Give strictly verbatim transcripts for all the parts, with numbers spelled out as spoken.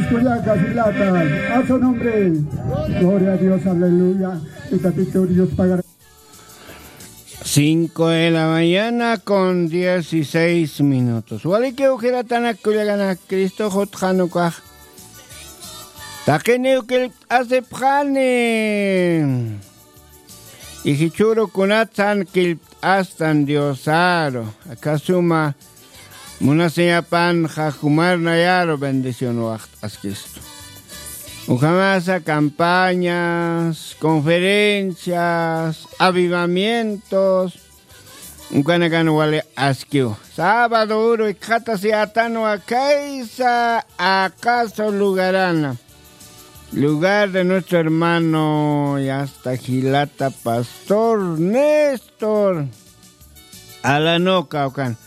Kullaka, jilata, a su nombre. Gloria a Dios, aleluya. Y Tatito Dios pagará. Cinco de la mañana con dieciséis minutos. Walikiw jilatanak kullakanak, Cristo jutxanukax taqiniw killpt'asipxani. Y jichhüru kunatsan killpt'astan Diosaru, aka suma munasiñapanxa jumar nayaru bendición waxt'askistu. Ukhamasa campañas, conferencias, avivamientos, ukanakan wali askiw. Sábado uru ikxatasiyätanwa khaysa Acaso lugarana, lugar de nuestro hermano y hasta jilata pastor Néstor Alanoca, ukan.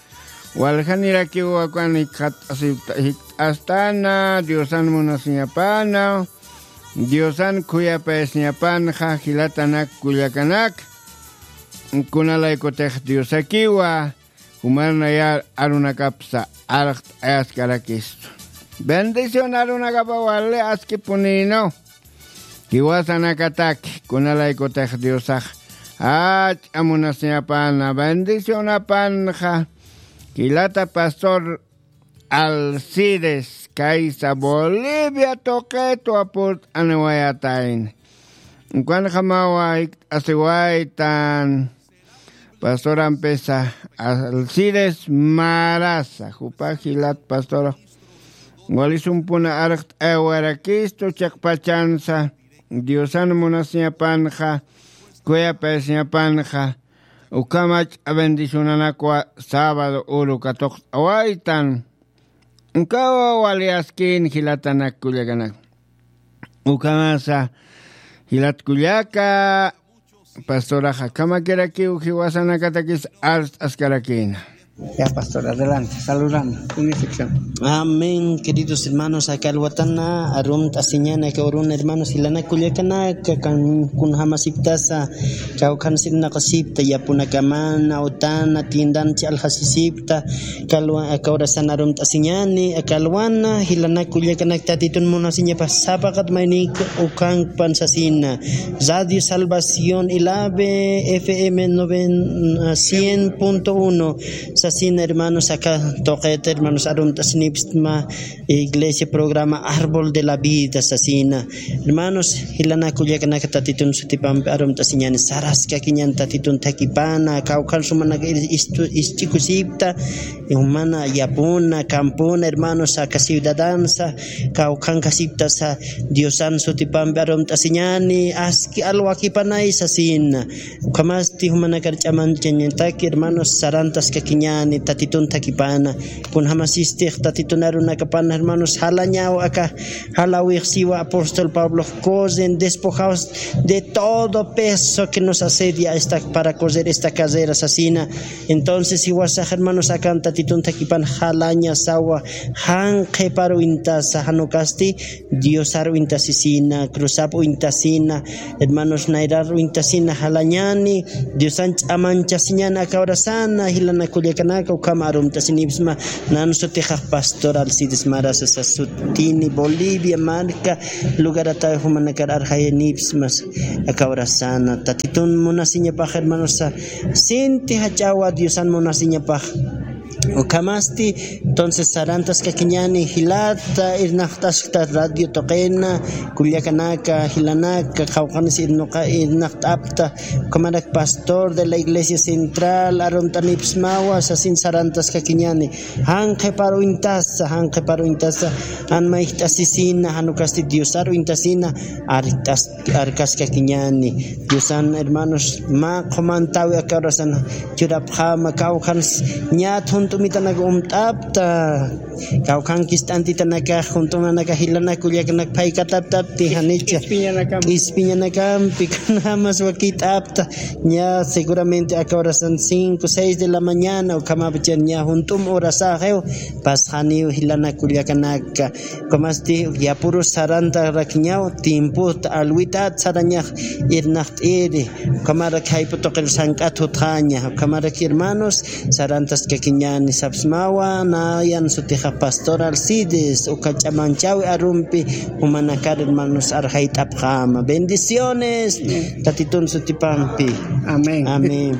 Waljanirakiw ukan jikxat'asipta-, jikxat'astana, Diosan munasiñapana, Diosan khuyapayasiñapanxa, jilatanak kullakanak. Kunalaykutix Diosakiwa jumar nayar arunakapsa arxt'ayaskarakistu. Bendición arunakapa wali askipunïnwa. Jiwasanakataki, kunalaykutix Diosax jach'a munasiñapana, bendicionapanxa, jilata pastor Alcides, khaysa Bolivia tuqitwa purt'aniwayatayna. Ukanjamawa jikt'asiwaytan. Pastorampisa Alcides Maraza, jupa jilat pastora. Wali sumpuna arxt'ayawayarakistu chiqpachansa, Diosan munasiñapanxa, khuyapayasiñapanxa, ukham jach'a bendicionanakwa sábado uru katuqt'awaytan. Ukawa wali askïn jilatanak kullakanak. Ukhamasa jilat kullaka, pastoraxa, akhamakirakiw jiwasanakatakis arst'askarakïna. Ya, pastor, adelante, saludando, una sección. Amén, queridos hermanos, aka alwatana arumt'asiñäni aka uruna, hermanos, jilanak kullakanaka, kunjamasiptasa, kawkhansa irnaqasipta, yapunakamana, utana, tiendanchi aljasisipta, aka alwa-, aka urasana arumt'asiñäni, aka alwana, jilanak kullakanak Tatitun munasiñapax sapaqat maynik ukhankpan sasina. Radio Salvación Ilave, F M noven-, cien punto uno, sasina, hermanos, aka tuqita, hermanos, arumt'asinipxsma, iglesia programa Árbol de la Vida, sasina. Hermanos, jilanak kullakanaka Tatitun sutipampi arumt'asiñäni, saraskakiñäni Tatitun thakipana, kawkhan sumanaka ir-, istu-, isch'ikusipta, jumana yapuna, campuna, hermanos, aka ciudadansa, kawkhankasiptasa, Diosan sutipampi arumt'asiñäni, aski alwakipanay sasina. Ukhamasti jumanakar ch'amanchañataki, hermanos, sarantaskakiñäni, Tatitun thakipana. Kunjamasistix Tatitun arunakapana, hermanos, jalañaw aka, jalawix siwa apóstol Pablo, corren despojados de todo peso que nos asedia esta, para correr esta carrera sasina. Entonces, jiwasax, hermanos, akan Tatitun thakipana jalañasawa, jan qhiparu uñtasa, jan ukasti, Diosar uñtasisina, cruzap uñtasina, hermanos, nayrar uñtasina jalañäni, Diosan ch'amanchasiñäni aka urasana, jilanak kullakanaka, ukham arumt'asinipxsma, nan sutixax pastor Alcides Maraza sasutini, Bolivia marka, lugarata jumanakar arjayanipxsma, aka urasana, Tatitun munasiñapax, hermanos, sinti jach'awa Diosan munasiñapax. Ukhamasti, entonces, sarantaskakiñäni, jilata, irnaqt'askta radio tuqina, kullakanaka, jilanaka, qawqhanis irnuqa-, irnaqt'apta, ukhamarak pastor de la iglesia central, arumt'anipxsmawa, sasin sarantaskakiñäni, jan qhiparu uñtasa, jan qhiparu uñtasa, jan mayjt'asisina, jan ukasti Diosar uñtasina, art'as-, arkaskakiñäni. Diosan, hermanos, mä qhumantawi aka urasan churapxäma, kawkhans ñat junt'umitanak umt'apta, kawkhankis t'antitanakax junt'umanakax jilanak kullakanak phaykataptapti, janicha k'ispiñanakampi, kunjamas wakit'apta, ña seguramente aka urasan cinco, seis de la mañana, ukhamapachan ña junt'um urasaxiw, pasxaniw jilanak kullakanaka. Ukhamasti yapuru sarantarakiñaw, tiempot alwitat sarañax irnaqt'iri, ukhamarak jayp'u tuqir sank'at jutxaña, ukhamarak hermanos, sarantaskakiña. Nisapsmawa nayan sutixa pastor Alcides uka ch'amanchawi arumpi, jumanakar hermanos arjayt'apxama bendiciones. Tatitun sutipampi. Amén. Amén.